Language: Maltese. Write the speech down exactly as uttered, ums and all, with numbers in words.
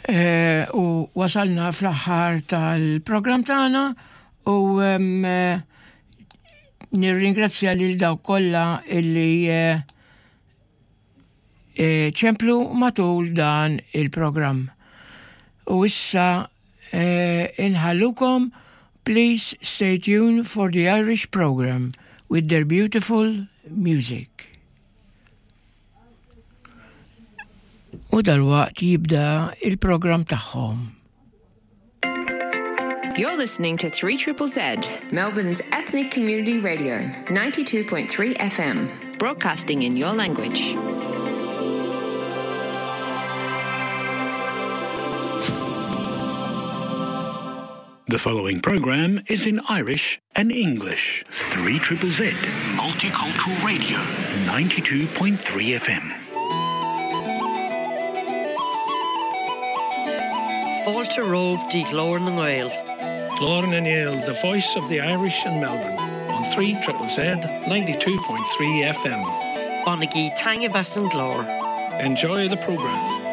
Eh, u wasalna fl-aħħar tal-programm tagħna u em, eh, nirringrazzja lil dawk kollha illi eh, eh, ċemplu matul dan il-programm. U issa eh, inħallukom, please stay tuned for the Irish program with their beautiful music. U dalwaqt jibda il-programm tagħhom. You're listening to three Triple Z, Melbourne's ethnic community radio, ninety-two point three F M, broadcasting in your language. The following program is in Irish and English. three Triple Z, Multicultural Radio, ninety-two point three F M. Fáilte romh dí Glór na nGael. Glór na nGael, the voice of the Irish in Melbourne, on three Triple Z, ninety-two point three F M. Bonagí tainge bheith an glór. Enjoy the program.